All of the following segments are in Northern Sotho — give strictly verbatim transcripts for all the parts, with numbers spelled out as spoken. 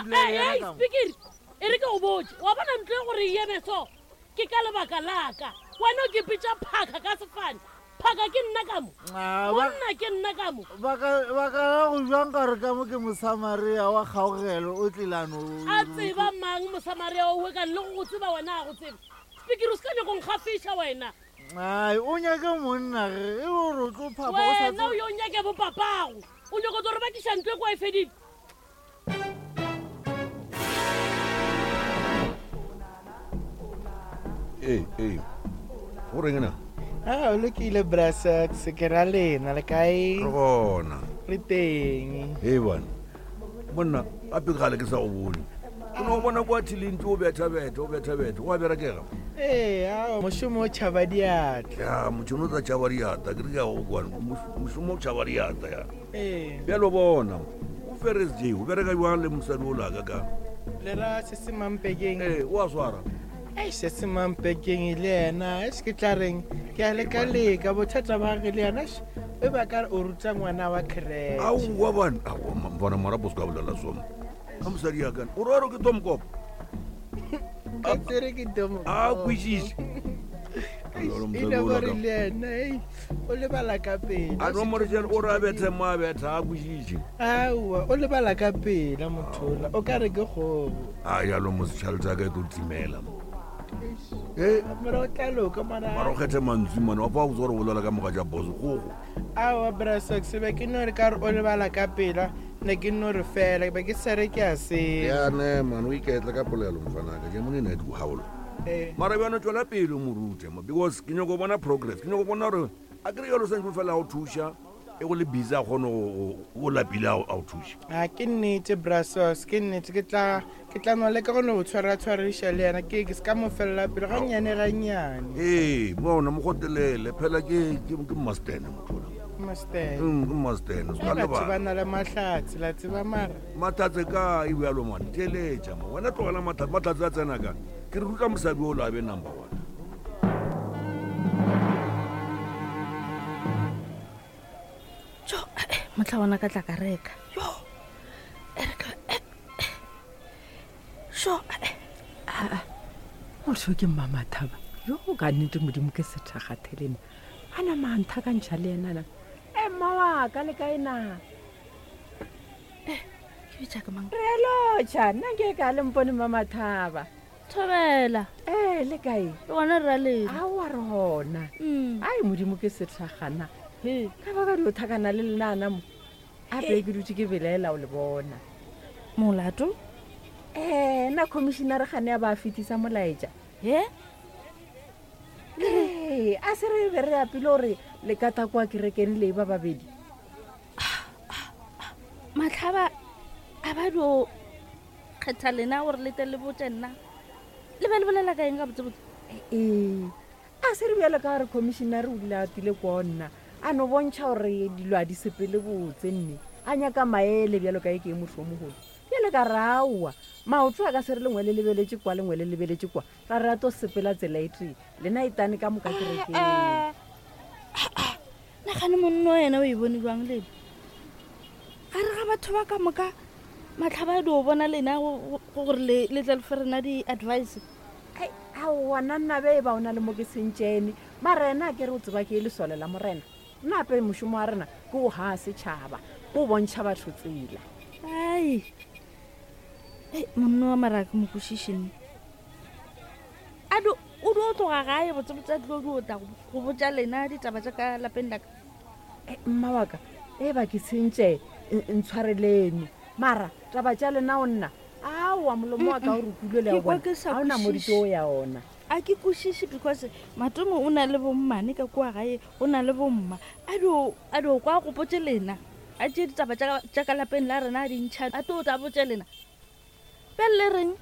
dula le yena ka mo. Spikiri e re ke go botse wa bona ntlo e gore e eme so ke ka lebaka laka wena o ke pitša phaka ka sefane phaka ke nna ka mo Ah, ba- monna ke nna ka mo ba ka ba ka ra go jwang ka re ka mo ke mosamaria wa kgaogelo o tlilano a tseba mang mosamaria owe kane le go go tseba wena a go tseba spikiri o se ka nyako nkgafiša wena ai o nyake monna ge e ore o tlo phapa o sa wena o tsebe- yo nyake bopapago o nyako tlo re bakiša ntlo e kwa e fedile ee ee go reng na a o lokile brasax ke ra lena le kae re gona re teng ee bana monna gape gale ke sa go bone ke no go bona kwa thilentse o bethabetha o bethabetha o a berekega ee ao mošomo o tšhaba diatla ya motšhono o tsa tšhaba diata ke re ke ya go kwane mošomo o tšhaba diata ya ee bjalo bona o ferres j o bereka jwang le mosadi o laka ka le ra se se mampekeng ee o a swara ei se se mampekeng le yena e se ke tla reng ke a leka-leka bothata ba ge le yena eish, e ba ka re o ruta ngwana wa creche aowa bana aowa mfana marapo se ka bolela soma ka mosadi yakane o rero ke tomkopo ka tsere ke tomo a kwešiše Jalo e mosadi le o gore laka. le yena ei o lebala ka pela a no morešele o re a bethe mo a betha a kwešiše aowa o lebala ka pela mothola o ka re ke kgogo a jalo mosetšhalete a ka e tlo timela mo e mara o tla loka mara o mara kgethe mantswe mane wa fa o tse gore bolela ka moga ja boso gogo aowa brasax be ke no re ka re o lebala ka pela ne ke no re fela be ke sere ke a seo ya ne mane o iketle ka polelo mfanaka ke mone ne di gaolo Eh. mara bjano tswela pele o mo rute mo because ke nyako bona progress ke nyako bona gore a kere jalo santse fela a o thuša e go le busy a kgone go- go- o lapile a o a o thuša a ke nnete brasos ke nnete ke tla ke tla no leka go no tshwara-tshwariša le yena ke ke se ka mo felela pele gannyane gannyane ee bona mo gotelele phela ke ke ke mastene motho ola. master Mm, ke mastene se ka batho ba lebala na le mahlatse la tseba mara matlhatse ka e bjalo mane theeletša mo wena tlogela matlhatse matlhatse a tsena ka ke re ruta mosadi o la be number one jo eh, motlha bona ka tla ka reka jo e re ka eh, eh. sho eh, motho ke mmamathaba yo ka nnete modimo ke sethakgathelena a nama a nthakantšha le enana e mma wa ka le kae na ke bitša ka mang re lotšha nna ke ka le mpone mmamathaba thobela ee le kae le gona re ra lena aowa re gona Mm. ai modimo ke sethakgana He. ka baka dio thakana le lenana mo ape ke dutse ke belaela o le bona molato ee nna commissionare gane ya ba a fetisa molaetša he ee a se re be re apile gore le ka takoa kerekeng le ba babedi matlhaba a ba dio kgetha lena gore le tle le botse nna le be le bolela ka eng ka botsebotse ee a se re bjalo ka gore commissionare o dile a tile kwa nna a no bontšha gore dilo a di sepele botse nne a nyaka maele bjalo ka e ke e motho o mogolo bjale ka re aowa maoto a ka se re lengwe le lebeletse kwa lengwe le lebeletse kwa ra re a to sepela tsela e tee lena e tane ka moka kerekeng nagane monno ena o e bone jwang lena gare ga batho ba ka moka matlhaba a dio bona lena go- go- gore le le tle le fe rena di-advice Ai, aowa nna nna be e ba o na le mo ke sentšene mara ena a ke re o tseba ke e lesole la morena nna ape mošomo wa rena ke o gaa setšhaba ke o bontšha batho tsela ai ei monno wa mara ke mo kwešišenne a dio o dio tloga gae botsebotse a tlo dio tla go- go botša lena ditaba tša ka lapeng laka Eh, mma wa ka e ba ke sentše n- ntshwarelene mara taba tša lena o nna aowa molomo wa ka o rukule le Ke ya kwa bona ke sa ga ona kwešiše. modito o ya ona a ke kwešiše because matomo o na le bommane ka kua gae o na le bomma a dio a dio kwa gopotse lena a tšee ditaba tša ka- tša ka lapeng la rena a dintšha a tlo tla botse lena bjale le reng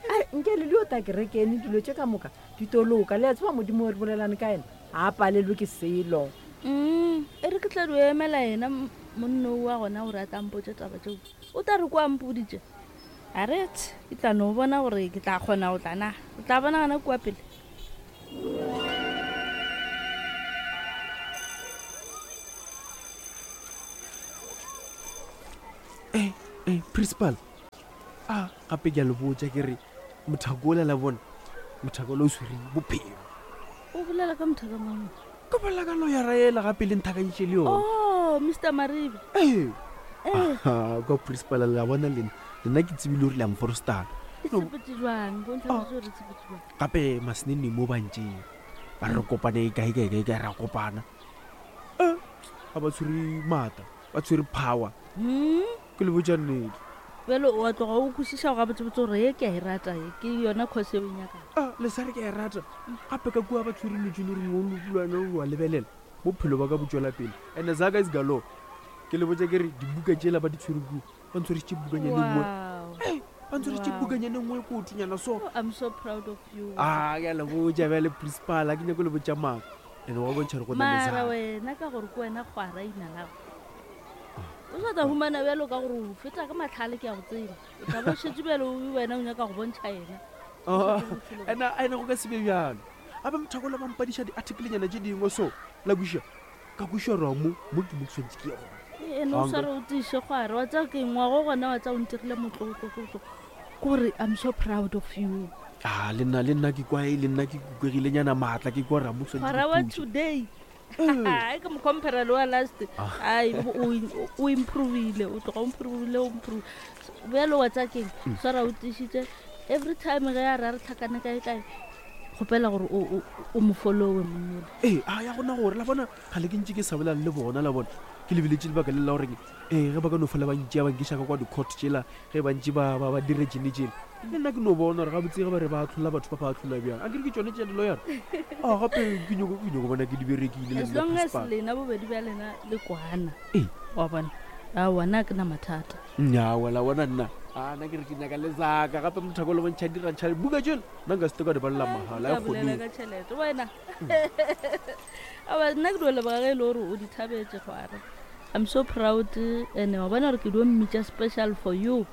Ai, nke le dio ta kerekene dilo tše ka moka di toloka le a tseba modimo o re bolelane ka ena ga a palelwe ke selo Mm, e re ke tla dio emela yena m- monno wa gona gore a tampotse taba tseo o tla re kwa mpoditše a rete ke tla no bona gore ke tla kgona go tla na o tla bona gona kua pele ee ee principal A gape ke a le botša ke re mothako ola la bona mothako ola o swere bophelo. O bolela ka mothaka mang? Ka bolela ka loyara ela gape le nthakantše le yona. Oh, Mister Maribe. Ee. Eh. Aha, kwa principal la bona lena lena ke tsebile gore le a mforostana. E tshepetse jwang? Bontsha gore e tshepetse jwang. Gape masenene mo bantšeng ba re kopane kae kae kae kae ra kopana. Eh, ga ba tshwere maatla, ba tshwere power. Hmm? Ke le botša nnete. Bjale o a tloga o kwešiša go gabotsebotse gore ye ke a e rata ye, ke yona course eo e nyakang. Ah, le sa re ke a e rata. Gape ka kua ba tshwere dilo tše le gore o lwana o a lebelela. Bophelo ba ka bo tšwela pele. And-e zaka is galore. Ke le botša ke re dibuka tšela ba di tshwere kua, ba ntshwarišitše bukanyana e nngwe. Wow. Hey, ba ntshwarišitše Wow. bukanyana e nngwe e kotonyana so. Oh, I'm so proud of you. Ah, ke a le botša bjale principal, ha ke nyake le botša maaka. And wa bontšha gore go na le Mara zaka. wena ka gore ke wena kgwara ina lago. O sa tla humana bjalo ka gore o feta ka matlhale ke a go tseba. O tla bo šetše bjalo o wena o nyaka go bontšha yena. Ah, ena ena go ka se be bjalo. Gape mothako ola ba mpadiša di-article-nyana tše dingwe so la kweša ka kweša gore mo mo ke mo ke tshwanetse ke ye gona. Ee, ene o sware o tiiše kgwara wa tseba ke ngwago gona wa tseba o ntirile motlotlotlotlo. Ke gore I'm so proud of you. Ah, le nna le nna ke kwa le nna ke kukegilenyana maatla ke kwa gore mo ke tshwanetse Kgwara ke wa puše. today. Ai, ke mo compare le wa last. Ai, o o improvile, o tloga o improvile, o improve. Bjalo wa tseba keng? Swara o tiišitše. Every time ge a re a re tlhakane kae kae, kgopela gore o, o, o mo followe monnole. Ee, a ya gona gore la bona ga le ke ntše ke sa bolela le bona la bona ke lebeletše lebaka le la goreng ee ge ba ka no fola ba ntšea ba nkiša ka kwa di-court tšela ge ba ntše ba ba ba dire tšene tšela le nna ke no bona gore gabotse ge ba re ba atlhola batho ba ba atlhola bjang a kere ke tšone tša diloyara a gape ke nyako ke nyako bona ke di berekile le As nna long as principal. lena bobedi bja lena le kwana. Ee. Wa bona. Aowa, nna ha ke na mathata. Nnyaa, la bona nna a nna ke re ke nyaka le zaka gape mothako le bontšha dirantšha buka tšela nna nka se te ka di balela mahala Ka e bolela kgone ka tšhelete wena. Aowa, nna ke dio leboga ge e le gore o di thabetse kgwara. I'm so proud and wa bona gore ke dio mmitša special for you.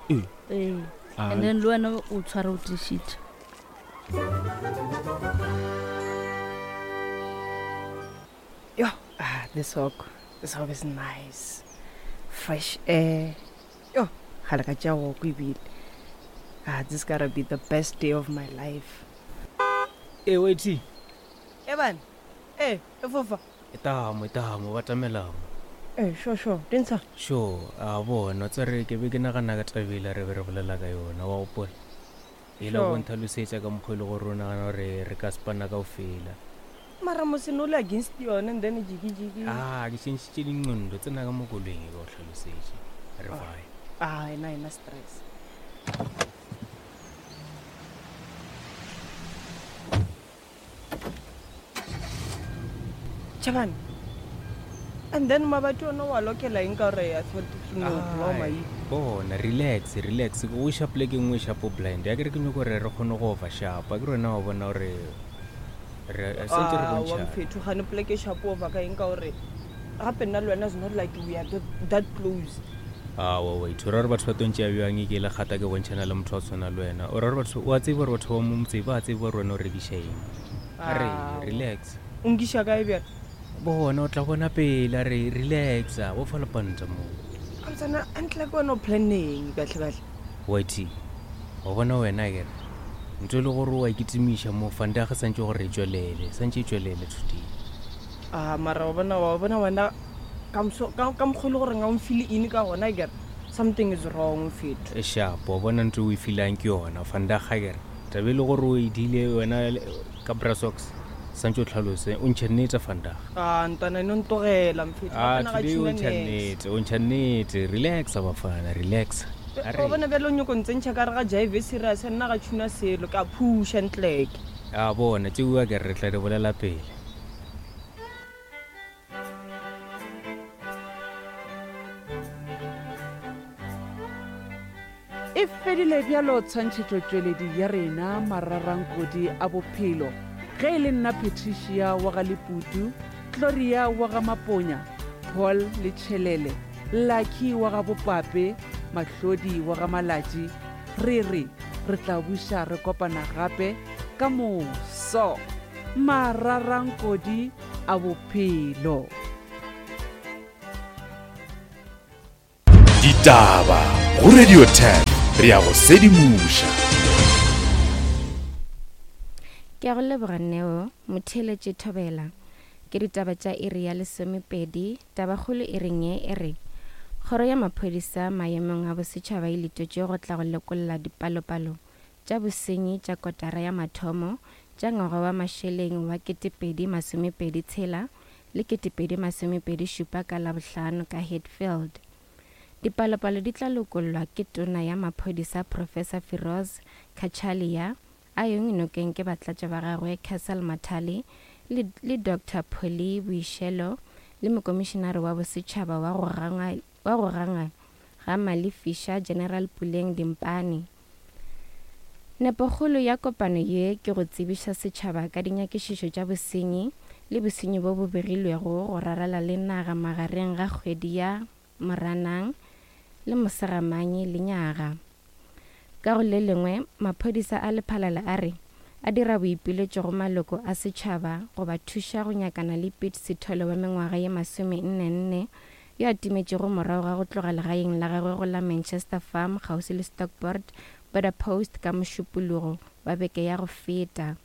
Ee. Ee. Ah. And then le wena o tshware o tiišitše. Yo, ah, this walk, this walk is nice. Fresh air. Yo, ga le ka tša walk ebile. Ah, this gotta be the best day of my life. E wait. Evan, eh, e fofa. Etamo, etamo, ba tamelamo. Eh, sure, sure. Dintsha. Sure, a bona tsere ke be ke nagana ka tabela re be re bolela ka yona wa gopola. E la Sure. go ntlhalosetša ka mokgwa e le gore o nagana gore re ka spana kaofela. Mara mosene o le against yone and then jiki jiki. Ah, ke tšhentšhitše dinqondo tsena ka mo koloing e ka o hlalosetše. Re fine. Ah, ena ena stress. Chabane. And then mabato ona wa lokela eng ka gore I thought no blow my Bona, relax, relax. Ke o iša polekeng nngwe e shapo blind. Ya ke re ke nyako gore re kgone go over sharp. A ke re wena wa bona gore re santse re Ah, wa bontšhana. mfetho gane poleke e shapo over ka eng ka gore gape nna le wena is not like we are that, that close. Aowa, wait, o ra gore batho ba tlo ntšea bjang e ke le kgata ke bontšhana le motho wa tshwana le wena. O ra gore batho, wa tseba gore batho ba mo motseng ba tseba gore wena o rekiša eng. A re, Aowa. relax. O nkiša kae bjale? Bona, o tla bona pele, a re, relax, a bo fa lepanta moo. Kamtsana antle ke wena o planneng kahle kahle. Wait, wa bona wena akere ntho e le gore wa ikitimiša mo fanda ge santse gore e tšwelele, santse e tšwelele today. Ah, mara wa bona wa bona wena ka mso- ka ka mokgwa e le gore ga o mfile eng ka gona akere something is wrong mfetho. E sharp, wa bona ntho e o e feelang ke yona fanda ga akere taba e le gore o e dile wena le- ka brasox santse o tlhalose o ntšhe nnete fandaga. Ah, ntwana eno ntogela mfetho. Ah, Gape na ga today o tšhuna ntšha niks. nnete, o ntšha nnete. Relax bafana, relax. A Wa re bona bjale o nyako ntsentšha ka re ga jive serious nna ga tšhuna selo ke a phusha ntleke. a bona tšeo akere re tla di bolela pele. E fedile bjalo tshwantšhetšotšweledi ya rena mararankodi a bophelo. Ge e le nna Patricia wa ga Leputu, Gloria wa ga Maponya, Paul le Tšhelele, Lucky wa ga Bopape, Mahlodi wa ga Malatši, re re re tla buša re kopana gape ka moso. Mararankodi a bophelo. Ditaba go Radio ten. re a go sedimoša. Ke a go leboga Neo, motheeletši Thobela. Ke ditaba tša iri ya lesomepedi, tabakgolo e reng ye e re Kgoro ya Maphodisa maemong a bosetšhaba e letetšwe go tla go lekolla dipalopalo tša bosenyi tša kotara ya mathomo tša ngwaga wa mašeleng wa ketepedi masomepedi tshela le ketepedi masomepedi šupa ka Labohlano ka Hatfield. Dipalopalo di tla lokollwa ke Tona ya Maphodisa Professor Firoz Cachalia a yong nokeng ke batlatša ba gagwe Cassel Mathale le, le Doctor Polly Boishelo le mokomišenare wa bosetšhaba wa go gangwa wa go gangwa ga Malefiša General Puleng Dimpane. Nepokgolo ya kopano ye ke go tsebiša setšhaba ka dinyakišišo tša bosenyi le bosenyi bo bo begilwego go rarala le naga magareng ga kgwedi ya Moranang le Mosegamanye lenyaga. Ka go le lengwe, maphodisa a Lephalale a re a dira boipiletšo go maloko a setšhaba go ba thuša go nyakana le Piet Sithole wa mengwaga ye masome-nne nne yo a timetšego morago ga go tloga legaeng la gagwe go la Manchester Farm kgauswi le Stockport Border Post ka Mošupologo wa beke ya go feta.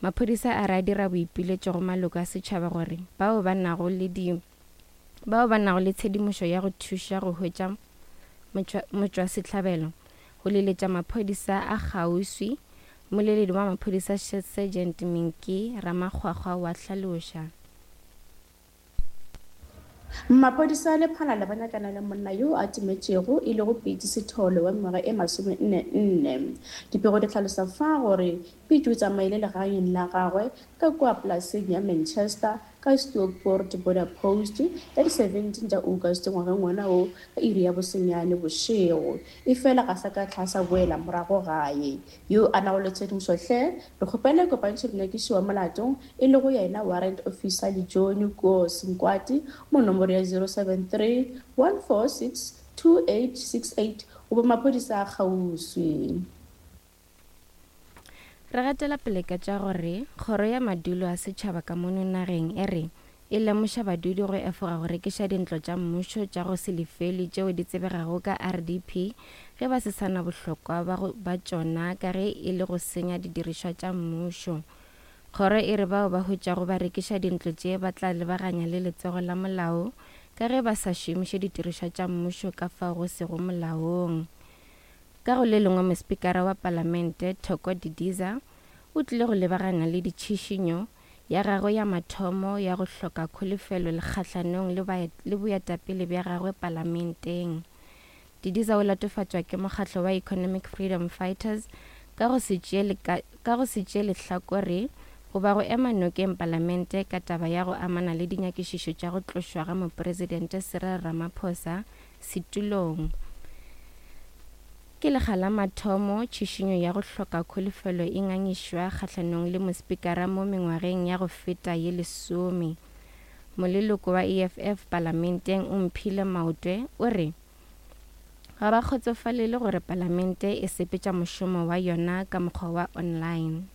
Maphodisa a re a dira boipiletšo go maloko a setšhaba gore bao ba nago le di bao ba nago le tshedimošo ya go thuša go hwetša motšwasehlabelo go leletša maphodisa a kgauswi. Mmoleledi wa maphodisa Sergeant Minki Ramakgwakgwa wa hlaloša. Maphodisa a Lephalale ba nyakana le monna yo a timetšego e lego Piet Sithole wa mengwaga e masome-nne nne. Dipego di hlalosa fa gore Piet o tsamaile legaeng la gagwe ka kua polaseng ya Manchester ka Stockport Border Post ka di seventeen tša August ngwageng wona wo ka iri ya bosenyane bošego. Efela ga sa ka tlhasa boela morago gae. Yo a nago le tshedimošo hle re kgopela kopantšho monyakiši wa molato e lego yena Warrant Officer Lejohn Koos Nkwati mo nomoro ya zero seven three one four six two eight six eight goba maphodisa a kgauswi. Re gatela pele ka tša gore kgoro ya madulo a setšhaba ka mono nageng e re e lemoša badudi go efoga go rekiša dintlo tša mmušo tša go se lefelwe tšeo di tsebegago ka R D P ge ba se sana bohlokwa ba tšona ka ge e le go senya didirišwa tša mmušo. Kgoro e re bao ba hwetšago ba rekiša dintlo tše ba tla lebaganya le letsogo la molao ka ge ba sa šomiše didirišwa tša mmušo ka fao go sego molaong. Ka go le lengwe, mospikara wa palamente Thoko Didiza o tlile go lebagana le ditšhišinyo ya gagwe ya mathomo ya go hloka kholofelo le kgahlanong le boetapele bja gagwe palamenteng. Didiza o latofatšwa ke mokgatlo wa Economic Freedom Fighters ka go se tšee lehlakore goba go ema nokeng palamente ka taba ya go amana le dinyakišišo tša go tlošwa ga mopresidente Cyril Ramaphosa setulong. Ke lekga la mathomo tšhišinyo ya go hloka kholofelo e ngangišwa kgahlanong le mospikara mo mengwageng ya go feta ye lesome. Moleloko wa E F F palamenteng Omphile Maotwe o re ga ba kgotsofalele gore palamente e sepetša mošomo wa yona ka mokgwa wa online.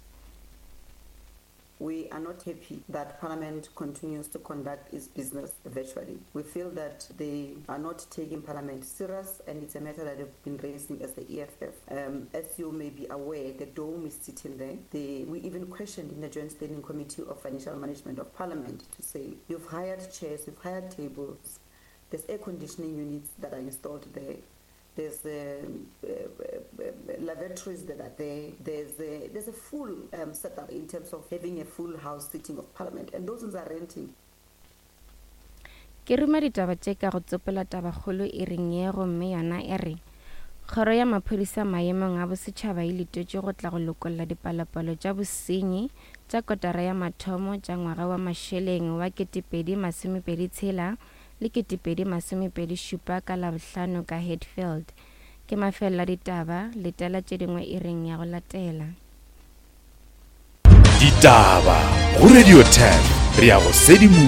We are not happy that Parliament continues to conduct its business virtually. We feel that they are not taking Parliament serious, and it's a matter that they've been raising as the E F F. Um, as you may be aware, the dome is sitting there. They, we even questioned in the Joint Standing Committee of Financial Management of Parliament to say, you've hired chairs, you've hired tables, there's air conditioning units that are installed there. There's um, uh, uh, lavatories that are there. There's a, there's a full um, setup in terms of having a full house sitting of Parliament, and those ones are renting. Ke ruma ditaba tše ka go tsopela tabakgolo e reng ye gomme yona e re kgoro ya maphodisa maemong a bosetšhaba e letetšwe go tla go lokolla dipalopalo tša bosenyi tša kotara ya mathomo tša ngwaga wa mašeleng wa ketepedi masomepedi tshela le ketepedi masomepedi šupa ka Labohlano ka Hatfield. Ke mafelelo a ditaba, letela tše dingwe e reng ya go latela. Ditaba go Radio ten, re ya go sedimoša.